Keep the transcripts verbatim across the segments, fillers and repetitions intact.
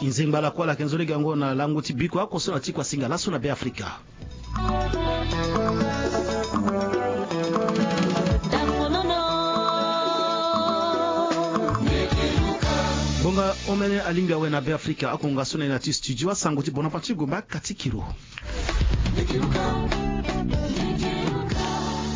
Nzengba lakue ala yeke nzoni gango na lango ti biko oko so na ti kuasinga laso na Be Afrika. Ngbonga omene alingbi awe na Be Afrika, akonga so na ye na ti studio asango ti Bonaventure Gomba Katikiro.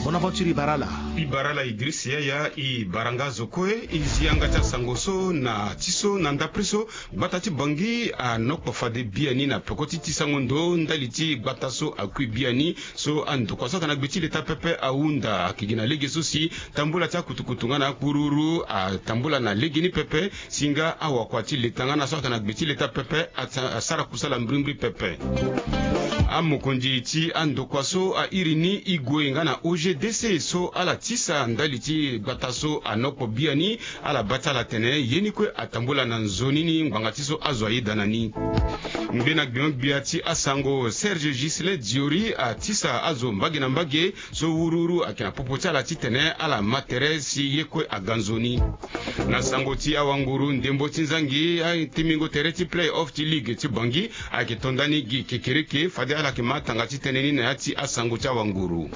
Bonaventure, i bara ala. I bara ala Idriss Yaya, i bara nga zo kue. I zi yanga ti asango so na ti so na ndapre so. Gbata ti Bangui anokpo fade biani na peko ti tisango ndo ndali ti gbata so akui biani so andokua so ayeke na gbe ti leta pepe ahunda. Ayeke gi na lege so si tambula ti akutukutu nga na akuruuru atambula na legeni pepe, si nga awakua ti leta nga na so ayeke na gbe ti leta pepe asa-, asara kusala mbirimbiri pepe. Amokonzi ti andokua so airi ni Igwe nga na O G D C so ala tisa ndali ti gbata so anokpo biani, ala baa ti ala atene ye ni kue atambula na nzoni ni ngbanga ti so azo ayeda na ni. Ngbene gbia gbia ti asango, Serge Ghislain Diori atisa azo mbage na mbage so wuruwuru ayeke na popo ti ala titene ala ma tere si ye kue aga nzoni. Na sango ti awanguru, ndembo ti nzangi atingbingo tere ti play-off ti ligue ti Bangui ayeke to ndani gi kekereke fade ala yeke ma atanga ti tënë ni na ya ti asango ti awanguru.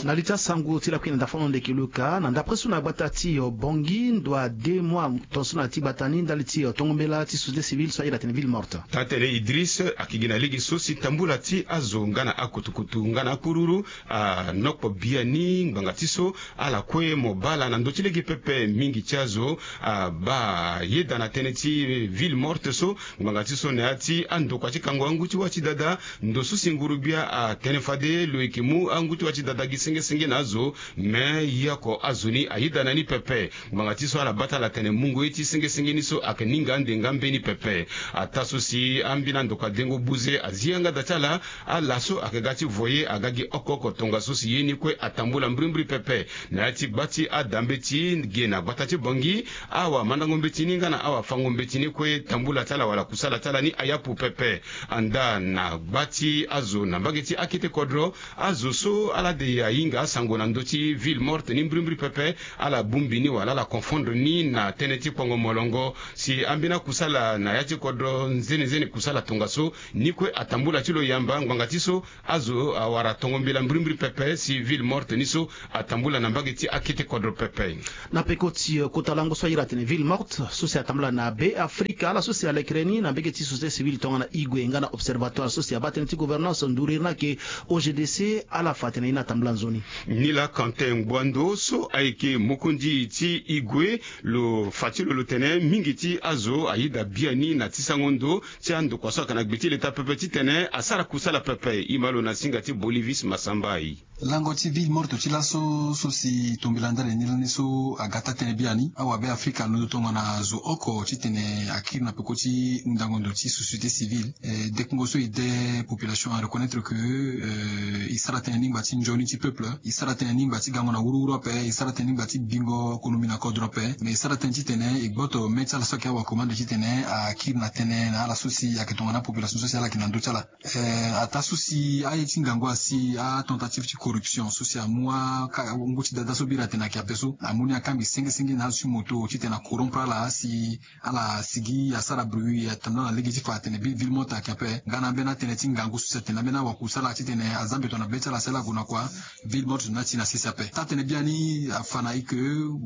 Na li ti asango ti lakui na ndafano ndeke Luka, na ndapre so na gbata ti Bangui, ndo a deux mois tongaso na ya ti gbata ni ndali ti tongo mbela ti société civile so ayeda atene ville morte. Taa tene Idriss, ayeke gi na lege so si tambula ti azo nga na akutukutu nga na akururu anokpo biani ngbanga ti so ala kue mo baa ala na ndö ti lege pepe. Mingi ti azo abaa ayeda na tënë ti ville morte so ngbanga ti so na ya ti andokua ti kango angu ti wâ ti dada. Ndo so si nguru-gbia atene fade lo yeke mu angu ti wâ ti dada gi senge senge na azo, me ye oko azo ni ayeda na ni pepe. Ngbanga ti so ala baa ti ala atene mungo ye ti senge senge ni so ayeke ninga ande nga mbeni pepe. Ataa so si ambeni andokua dengo buze azi yanga da ti ala, ala so ayeke ga ti voye aga gi oko oko tongaso si ye ni kue atambula mbirimbiri pepe. Na ya ti gba ti adambeti ge na gbata ti Bangui, awamandango mbeti ni nga na awafango mbeti ni kue tambula ti ala wala kusala ti ala ni ayapu pepe. Andaa na gba ti azo na mbage ti akete kodro, azo so ala de ahinga asango na ndö ti ville morte ni mbirimbiri pepe, ala bongbi ni wala ala confondre ni na tënë ti kpongo molongo. Si ambeni akusala na ya ti kodro nzene nzene kusala tongaso, ni kue atambula ti lo yamba ngbanga ti so azo awara tongo mbela mbirimbiri pepe si ville morte ni so atambula na mbage ti akete kodro pepe. Na peko ti, eh, kota lango so ayeda atene ville morte so si atambula na Be Afrika, ala so si alekere ni na mbage ti société civile tongana Igwe nga na observatoire so si abaa tënë ti gouvernance nduriri ni ayeke O G D C, ala fa atene ye ni atambula nzoni. Nilaa Quentin Ngbouando so ayeke mokonzi ti Igwe, lo fa ti lo lo tene mingi ti azo ayeda biani na tisango ndo ti andokua so ayeke na gbe ti leta pepe titene asara kusala pepe. E ma lo na singa ti Bolivis Masambai. Lango ti ville morte ti laso so si tombela ndali ni lani so aga taa tënë biani. Awabe Afrika alondo tongana zo oko titene akiri na peko ti hundango ndo ti société civile. Eh, dekungo so e de population a reconnaître que, eh, e sara tënë ni ngba ti nzoni ti peuple, e sara tënë ni ngba ti gango na wuruwuru ape, e sara tënë ni ngba ti bingo konomi na kodro ape, mais e sara tënë titene e gboto me ti ala so ayeke awakomande titene akiri na tënë na ala so si ayeke tongana apopulation so si ala yeke na ndö ti ala. Eh, ataa so si aye ti ngangu asi atentative ti corruption so si amu aka ngu ti dada so bira atene ayeke ape so amu ni akangbi senge senge na azo ti moto titene acorrompre ala si ala sigi asara bruit atambula na lege ti fa atene bi ville morte ayeke ape. Nga na ambeni atënë ti ngangu so si atene ambeni awakusala titene aza mbeto na be ti ala si ala gue na kua, ville morte ni ati na sese ape. Taa tënë biani afa na e ke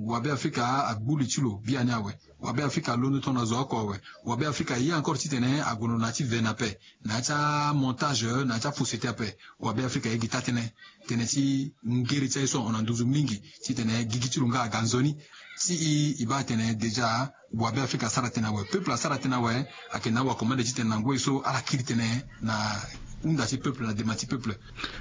wabe Afrika agbu li ti lo biani awe. Wabe Afrika alondo tongana zo oko awe. Wabe Afrika aye encore titene ague na lo na ya ti vene ape, na ya ti amontage, na ya ti afausseté ape. Wabe Afrika aye gi taa tënë. Tënë ti ngere ti aye so ahon na nduzu mingi titene gigi ti lo nga aga nzoni. Ti e, e baa atene déjà wabe Afrika asara tënë awe, peuple asara tënë awe. Ayeke na awakomande titene na ngoi so ala kiri tënë na hunda ti peuple na dema ti peuple.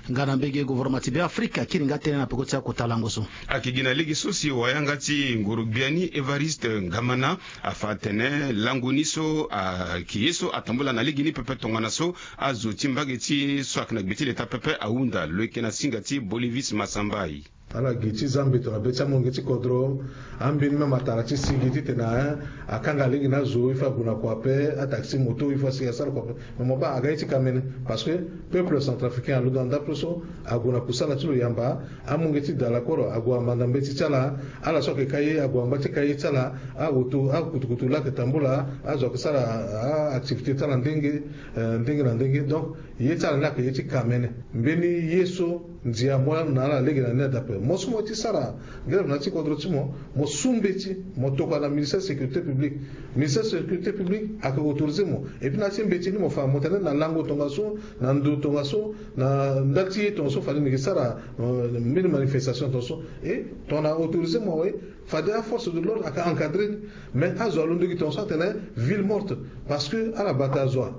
Nga na mbage gouvernement ti Be Afrika akiri nga tënë na peko ti akota lango so. Ayeke gi na lege so si wayanga ti ngoro gbia ni Évariste Ngamana afa atene lango ni so ayeke ye so atambula na lege ni pepe tongana so azo ti mbage ti so ayeke na gbe ti leta pepe ahunda. Lo yeke na singa ti Bolivis Masambai. Ala gi ti zia mbeto na be ti amolenge ti kodro. Ambeni même atara ti si gi titene akanga lege na azo il faut ague na kua ape, ataxi moto il faut asi asara kua ape. Mais mo baa aga ye ti kamene, parce que peuple centrafricain alondo na ndapre so ague na kusala ti lo yamba. Amolenge ti dala koro ague amanda mbeti ti ala. Ala so ayeke ka ye ague angba ti ka ye ti ala. Aoto akutukutu lake tambula azo ayeke sara aactivité ti ala ndenge ndenge na ndenge. Donc ye ti ala ni ayeke ye ti kamene. Mbeni ye so ndia amu ala na ala lege na ni adape mo so mo ye ti sara grève na ya ti kodro ti mo. Mo su mbeti mo tokua na ministère sécurité publique. Ministère sécurité publique ayeke autoriser mo. Et puis na ya ti mbeti ni mo fa mo tene na lango tongaso, na ndo tongaso, na ndali ti ye tongaso fade ni yeke sara mbeni manifestation tongaso. Et tongana autoriser mo awe, fade aforce de l'ordre ayeke encadrer ni. Mais azo alondo gi tongaso atene ville morte, parce que ala bata azo wa.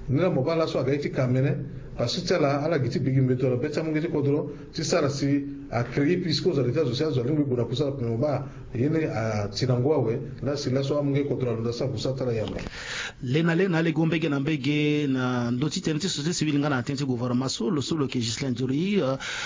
Ni laa mo baa laso aga ye ti kamene. Parce que ti ala ala gi ti bigi mbeto na be ti amolenge ti kodro ti sara si acréer puisque azo aleke ti azo si azo alingbi gue na kusala ape. Mo baa ye ni ati na ngu awe. Laa si laso amolenge ti kodro alondo asara kusala ti ala yamba. Le na le na alege mbege na mbege na ndö ti tënë ti société civile nga na tënë ti gouvernement so lo so lo yeke Ghislain Diori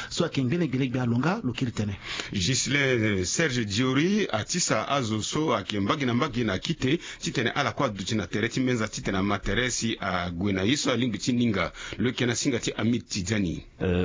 so ayeke ngbene gbelegbe alo nga lo kiri tënë. Ghislain Serge Diori atisa azo so ayeke mbage na mbage na kite titene ala kue aduti na tere ti mbenza titene ama tere si ague na ye so alingbi ti ninga. Lo yeke na singa ti Hamid Tidiani.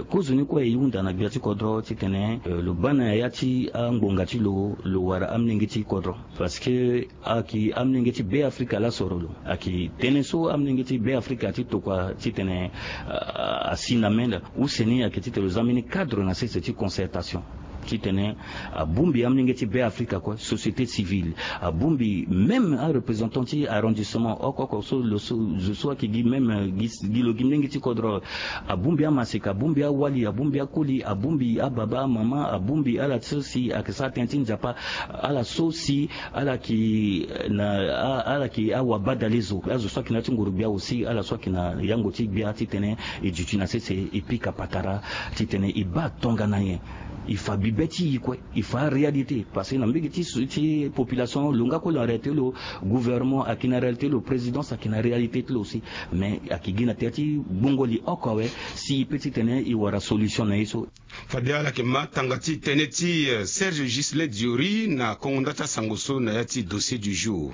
Kozoni kue e hunda na gbia ti kodro titene lo baa na ya ti angbonga ti lo lo wara amolenge ti kodro. Parce que ayeke amolenge ti Be Afrika laa soro lo. Ayeke tënë so amolenge ti Be Afrika ti tokua titene asi na menda use ni ayeke titene lo za mbeni cadre na sese ti concertation. Titene abongbi amolenge ti Be Afrika kue, société civile, abongbi même areprésentant ti arrondissement oko oko so lo so zo so ayeke gi même gi lo gi molenge ti kodro. Abongbi amaseka, abongbi awali, abongbi akoli, abongbi ababa, amama, abongbi ala so si ayeke sara tënë ti nzapa, ala so si ala yeke na ala yeke awabadale zo, azo so ayeke na ya ti nguru gbia aussi, ala so ayeke na yango ti gbia titene e duti na sese e pika patara titene e baa tongana nyen. E fa bibe ti e kue, e fa aréalité parce que na mbege ti population lo nga kue lo aréalité lo, gouvernement ayeke na réalité lo, présidence ayeke na réalité ti lo aussi. Mais ayeke gi na tere ti gbongo li oko awe si e pe titene e wara solution na ye so. Fade ala yeke ma tanga ti tënë ti Serge Ghislain Diori na kongo nda ti asango so na ya ti dossier du jour.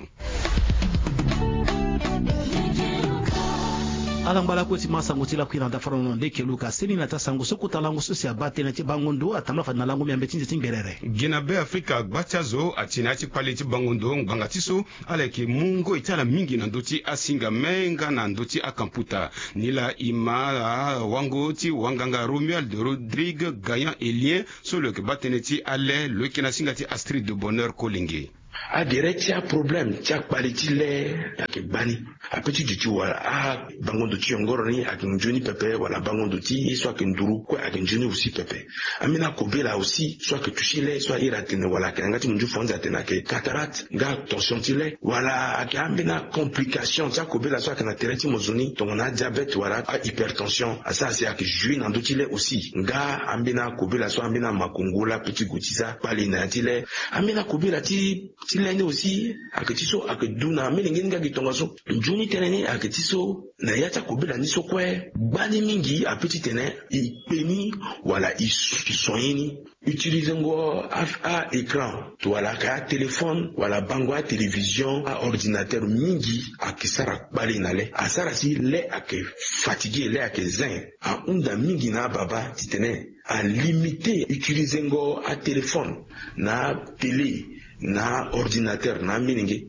Ala ngba lakue ti ma sango ti lakui na ndafara na leke luka seni na ti asango so kota lango so si abaa tënë ti bango ndo atambula fade na lango miambe ti nze ti ngerere. Gi na Be Afrika gba ti azo ati na ya ti kpale ti bango ndo ngbanga ti so ala yeke mu ngoi ti ala mingi na ndö ti asinga me nga na ndö ti akamputa. Nilaa e ma awango ti wanganga Romuald Rodrigue Gayan Elien so lo yeke baa tënë ti ale lo yeke na singa ti Astrid de Bonheur Kolenge. Agere ti aproblème ti akpale ti le ayeke gbani. Ape ti duti wala abango ndo ti yongoro ni ayeke nzoni pepe wala abango ndo ti ye so ayeke nduru kue ayeke nzoni aussi pepe. Ambeni akobela aussi so ayeke tusi le so ahiri atene wala ayeke na yanga ti munzu fanzi atene ayeke cataracte nga tension ti le wala ayeke ambeni acomplication ti akobela so ayeke na tere ti mozo ni tongana adiabete wala ahypertension asara si ayeke jouer na ndö ti le aussi nga ambeni akobela so ambeni amakongo lape ti gue ti za kpale na ya ti le. Ambeni akobela ti ti le ni aussi ayeke ti so ayeke du na amolenge ni nga gi tongaso. Nzoni tënë ni ayeke ti so na ya ti akobela ni so kue gbani mingi ape titene e kpe ni wala e sonye ni. Utilizengo a-écran wala ayeke atéléphone wala bango atélévision aordinateur mingi ayeke sara kpale na le asara si le ayeke fatigué le ayeke zin. Ahunda mingi na ababa titene alimite utilizengo atéléphone na atélé na ordinateur na amilenge.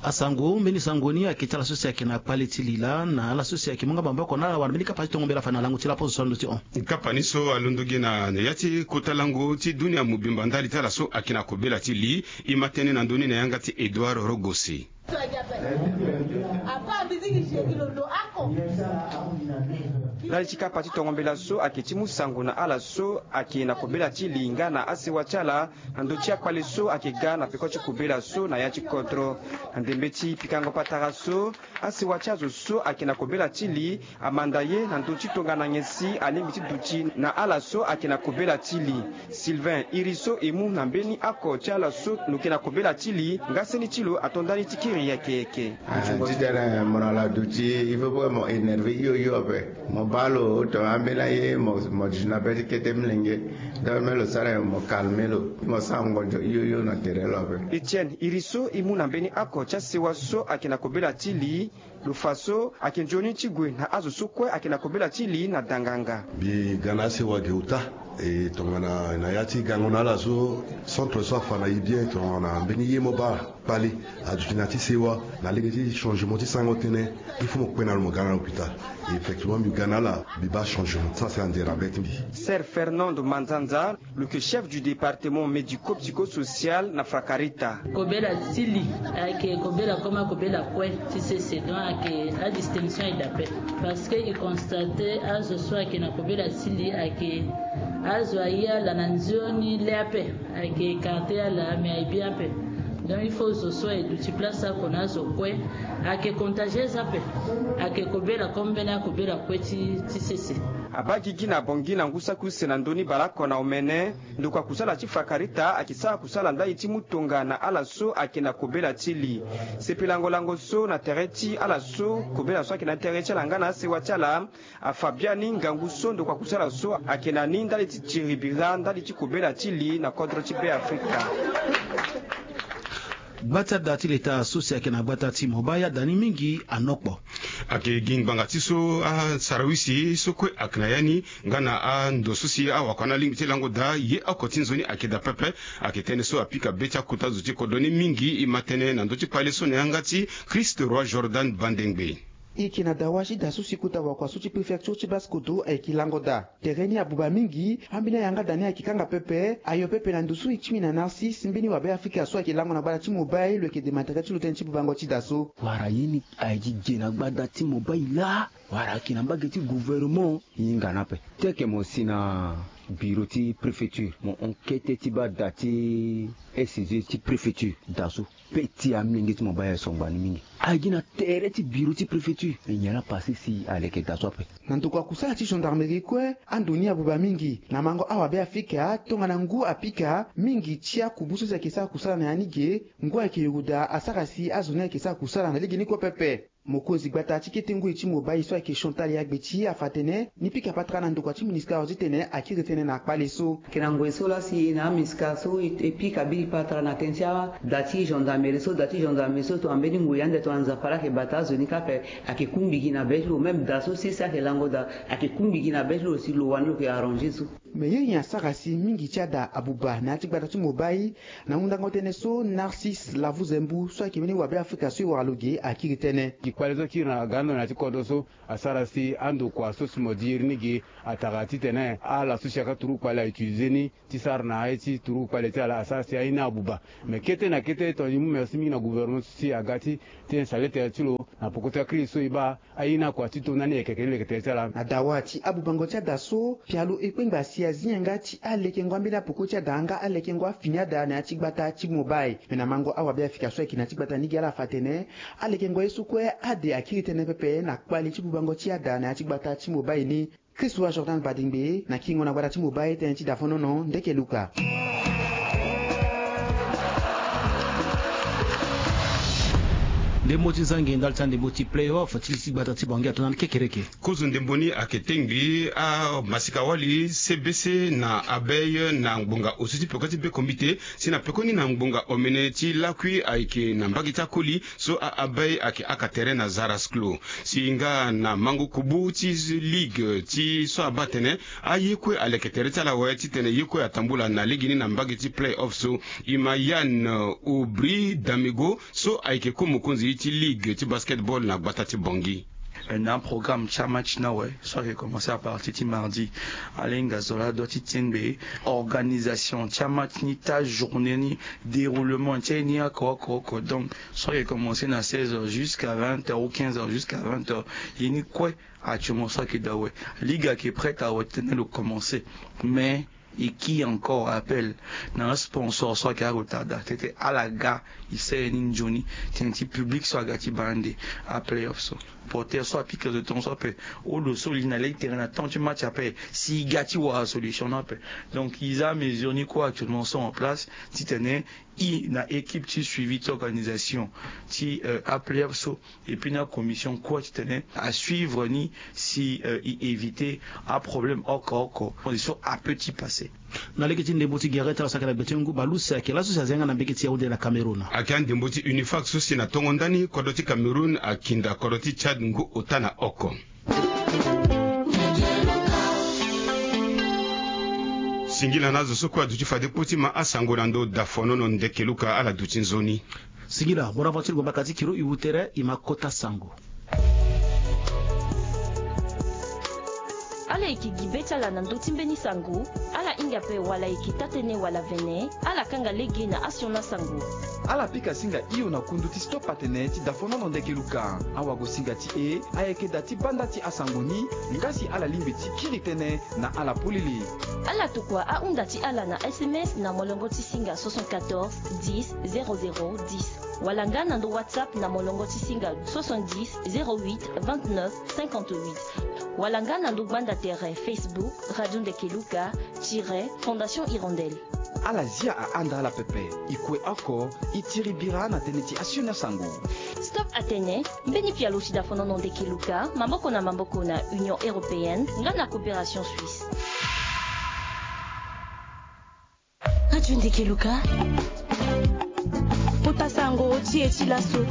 Asango mbeni sango ni ayeke ti ala so si ayeke na kpale ti li laa na ala so si ayeke mu nga maboko na ala wala mbeni kapa ti tongo mbela fa na lango ti laposo so alondo ti hon. Kapa ni so alondo gi na ya ti kota lango ti dunia mobimba ndali ti ala so ayeke na kobela ti li. E ma tënë na ndö ni na yanga ti Edouard Rogosi. Ndali ti kapa ti tongo mbela so ayeke ti mu sango na ala so ayeke na kobela ti li nga na asewa ti ala na ndö ti akpale so ayeke ga na peko ti kobela so na ya ti kodro. Na ndembe ti pikango patara so asewa ti azo so ayeke na kobela ti li amanda ye na ndö ti tongana nyen si alingbi ti duti na ala so ayeke na kobela ti li. Sylvain iri so e mu na mbeni oko ti ala so lo yeke na kobela ti li nga seni ti lo ato ndani ti kiri yeke yeke. Titene mo na ala duti il faut pas mo énerver hio hio ape. Mo baa Alo, tongana ambeni aye mo mo duti na be ti kete milenge. Donc me lo sara nyen? Mo calme lo, mo sara ngonzo hio hio na tere lo ape. Etienne iri so e mu na mbeni oko ti asewa so ayeke na kobela ti li, lo fa so ayeke nzoni ti gue na azo so kue ayeke na kobela ti li na danganga. Mbi ga na asewa ge uta. E tongana na ya ti gango na ala so, centre so afa na e bien, tongana mbeni ye mo baa kpale aduti na ya ti sewa, na lege ti changement ti sango tënë, il faut mo kpe na lo mo ga na l'hôpital. Effectivement mbi ga na ala, mbi baa changement. Ça c'est ande na be ti mbi. Sir Fernando Manzanza, lo yeke chef du département médico-psychosocial na Frakarita. Kobela ti li ayeke kobela comme akobela kue ti sese, donc ayeke adistinction aye daa ape. Parce que e constate azo so ayeke na kobela ti li ayeke azo aye ala na nzoni le ape, ayeke écarter ala mais aye bien ape. Donc il faut zo so aye duti place oko na azo kue, ayeke contagieuse ape, ayeke kobela comme mbeni akobela kue ti ti sese. Abaa gigi na Bangui na ngu saki use na ndö ni baleoko na omene, ndokua kusala ti Frakarita ayeke sara kusala ndali ti mu tonga na ala so ayeke na kobela ti li. Sepelango lango so na tere ti ala so kobela so ayeke na tere ti ala nga na asewa ti ala, afa biani ngangu so ndokua kusala so ayeke na ni ndali ti tiri bira ndali ti kobela ti li na kodro ti Beafrika. Gba ti ada ti leta so si ayeke na gbata ti Mobay ada ni mingi anokpo. Ayeke gi ngbanga ti so asarawisi so kue ayeke na ya ni nga na ando so si awakua ni alingbi ti lango daa ye oko ti nzoni ayeke daa pepe. Ayeke tënë so apika be ti akota zo ti kodro ni mingi e ma tënë na ndö ti kpale so na yanga ti Christ Roi Jordan Bandengbe. E yeke na dawa ti da so si kota wakua so ti préfecture ti Basse-Kotto ayeke lango daa. Tere ni abuba mingi, ambeni ayanga da ni ayeke kanga pepe, ayo pepe na ndo so e ti mbi na Narcisse, mbeni wabe Afrika so ayeke lango na gbada ti Mobay, lo yeke dema tere ti lo tënë ti bubango ti da so. Wala ye ni ayeke gi ge na gbada ti Mobay laa, wala ayeke na mbage ti gouvernement, e hinga ni ape. Ti ayeke mo si na biro ti préfecture, mo hon kete ti baa da ti S G ti préfecture da so. Pe ti amilenge ti mo baa ye so ngbani mingi. Agi na tere ti biro ti préfecture e nyen ala pase si aleke da so ape. Na ndokua kusala ti gendarmerie kue, ando ni abuba mingi na mango awabe Afrika tongana ngu apika mingi ti akubu so si ayeke sara kusala na ya ni ge. Ngu ayeke yoro daa asara si azo ni ayeke sara kusala na lege ni kue pepe. Mokonzi gbata ti kete ngoi ti Mobay so ayeke Chantal Yagbeti afa atene ni pika patara na ndokua ti MINUSCA titene akiri tënë na kpale so. Ayeke na ngoi so laa si e na aMINUSCA so e pika biri patara na tënë ti ada ti gendarmerie so, da ti gendarmerie so tongana mbeni ngoi ande tongana Nzapa laa ayeke bata azo ni kâ ape. Ayeke kungbi gi na be ti lo, même da so sese ayeke lango daa, ayeke kungbi gi na be ti lo si lo wani lo yeke arranger so. Me ye nyen asara si mingi ti ada abuba na ya ti gbata ti Mobay? Na hundango tënë so, Narcisse Lavuzembu so ayeke mbeni wabe Afrika so e wara lo ge akiri tënë. Gi kpale so akiri na ga ando na ya ti kodro so asara si andokua so si mo di iri ni ge atara titene ala so si aka turugu kpale a utiliser ni ti sara na aye ti turugu kpale ti ala asara si aye ni abuba. Me kete na kete tongana e mu merci mingi na gouvernement so si aga ti tene saletere ti lo na poko ti akiri so e baa aye ni akua ti to ndani yeke leke tere ti ala. Na dawa ti abubango ti ada so, pialo e kpengba si azi yanga ti alekengo ambeni apoko ti ada nga alekengo afini ada na ya ti gbata ti Mobay. Me na mango awabe Afrika so ayeke na ya ti gbata ni gi ala afa atene alekengo ye so kue ade akiri tënë pepe na kpale ti bubango ti ada na ya ti gbata ti Mobay ni. Christ Roi Jordan Badingbe na kiringo na gbata ti Mobay tënë ti Dafonono Ndeke Luka. Ndembo ti zangi ndali ti andembo ti play-off ti li ti gbata ti Bangui ato na ni kekereke. Kozo ndembo ni ayeke tengbi amasika-wali C B C na Abei na ngbonga osu ti peko ti be kombite, si na pekoni na ngbonga omene ti lakui ayeke na mbage ti akoli so a-Abei ayeke aka tere na Zarasklo. Si nga na mango kubu ti ligue ti so abaa atene aye kue aleke tere ti ala awe titene ye kue atambula na legeni na mbage ti play-off so. E ma Yann Aubry Damego so ayeke ko mokonzi ti ligue ti basketball na gbata ti Bangui. Na programme ti amatch ni awe so ayeke commencer à partir ti mardi. Ala hinga zo laa ado ti tengbe organisation ti amatch ni ti ajournée ni, déroulement ti aye ni oko oko oko. Donc so ayeke commencer na seize heures jusqu'à vingt heures ou quinze heures jusqu'à vingt heures. Ye ni kue atio mo so ayeke daa awe. Ligue ayeke prête awe titene lo commencer. Mais E ki encore appel na asponsor so ayeke aretarda tete ala ga e sere ni nzoni tënë ti public so aga ti baa ande aplayoff so. Porter so apika zo tongaso ape. Olo so li na lei tere na temps ti match ape si e ga ti wara solution ni ape. Donc e za amesure ni kue actuellement so en place titene e na équipe ti suivi ti organisation ti aplayoff so, et puis na commission kue titene asuivre ni si e éviter aproblème oko oko. Condition ape ti passe. Na lege ti ndembo ti gere ti ala so ayeke na gbe ti ngu baleuse ayeke laso si azi yanga na mbege ti yaounde na cameroun. Ayeke andembo ti unifac so si na tongo ndani kodro ti cameroun akinda kodro ti tchad ngu ota na oko. Singila na azo so kue aduti fade kpo ti ma asango na ndo dafonono ndeke luka ala duti nzoni. Singila bonaventure gobaka ti kiro iwu tere ima kota sango. Ala yeke gi be ti ala na ndö ti mbeni sango. Ala hinga ape wala eke taa-tënë wala vene. Ala kanga lege na asiona sango. Ala pika singa hio na kundu ti stop atene ti dafonono ndeke luka. Awagosinga ti e ayeke daa ti banda ti asango ni. Nga si ala lingbi ti kiri tënë na ala polele. Ala tokua ahunda ti ala na sms na molongo ti singa soixante-quatorze dix zéro zéro dix, wala nga na ndo whatsapp na molongo ti singa soixante-dix zéro huit vingt-neuf cinquante-huit, wala nga na ndo gbanda tere facebook radio ndeke luka tiret fondation hirondelle. Ala zia ahanda ala pepe. E kue oko e tiri bira na tënë ti asioni asango. Stop atene mbeni pialo ti dafonono ndeke luka maboko na maboko na union européenne nga na coopération suisse. Radio ndeke luka. Kota sango ti e ti laso.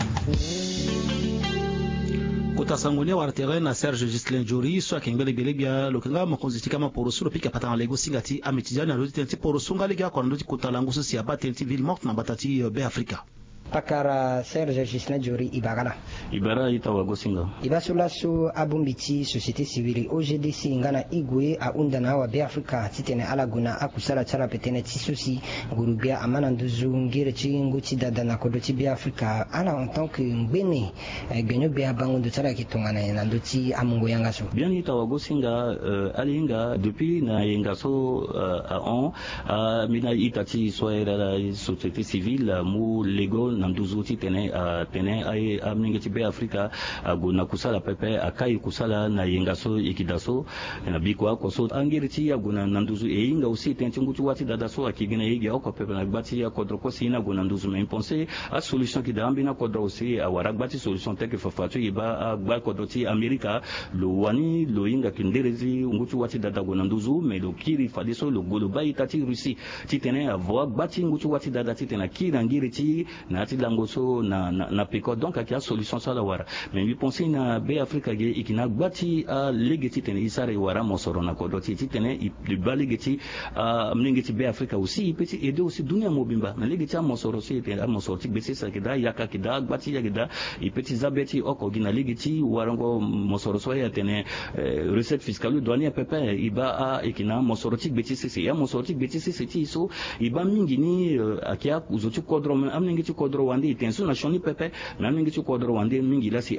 Kota sango ni awara tere na serge justin jori so ayeke ngbele gbele gbia lo yeke nga mokonzi ti kama poroso lo pika patana lego singa ti amitidia na ndö ti tënë ti poroso nga lege oko na ndö ti kota lango so si abaa tënë ti ville morte na mbata ti be afrika. Pakara serge justin jori ibara la. Ibara ita wagosinga. Iba so laso abongbi ti société civile ogdc nga na igue ahunda na awabe afrika titene ala gue na akusala ti ala pe tënë ti so si nguru-gbia ama na nduzu ngere ti ngu ti dada na kodro ti be afrika ala en tant que ngbene. Gbenyo-gbia bango ndo ti ala yeke tongana nyen na ndö ti amungo yanga so? Biani ita wagosinga. Ala hinga depuis na yenga so ahon ambeni a-ita ti e so ahiri ala société civile amu lego na nduzu titene atene amolenge ti be afrika ague na kusala pepe akai kusala na yenga so e yeke daa so. Na biko oko so angiri ti e ague na nduzu e hinga aussi tënë ti ngu ti wâ ti dada so ayeke gi na e ge oko pepe na gba ti akodro kue si e ni ague na nduzu mais e pense asolution ayeke daa ambeni akodro aussi awara agba ti solution tel que fafa so e baa agba kodro ti amerika. Lo wani lo hinga yeke ndere ti ngu ti wâ ti dada ague na nduzu mais lo kiri fadeso lo gue lo baa ita ti russie titene avo agba ti ngu ti wâ ti dada titene akiri na ngiri ti e na ya ti lango so na peko donc ayeke asolution so ala wara. Mais mbi pense na be afrika ge e yeke na agba ti alege titene e sara e wara amosoro na kodro ti e titene e baa lege ti amolenge ti be afrika aussi e pe ti aide aussi dunia mobimba na lege ti amosoro so e tene amosoro ti gbe ti sese ayeke daa ayaka ayeke daa agba ti e ayeke daa. E pe ti za be ti e oko gi na lege ti warango mosoro so aye atene recette fiscale douanière pepe e baa ayeke na amosoro ti gbe ti sese e amosoro ti gbe ti sese ti e so e baa mingi ni ayeke azo ti kodro me amolenge ti kodro wande e tene so na sioni pepe. Mais amolenge ti kodro wande mingi laa si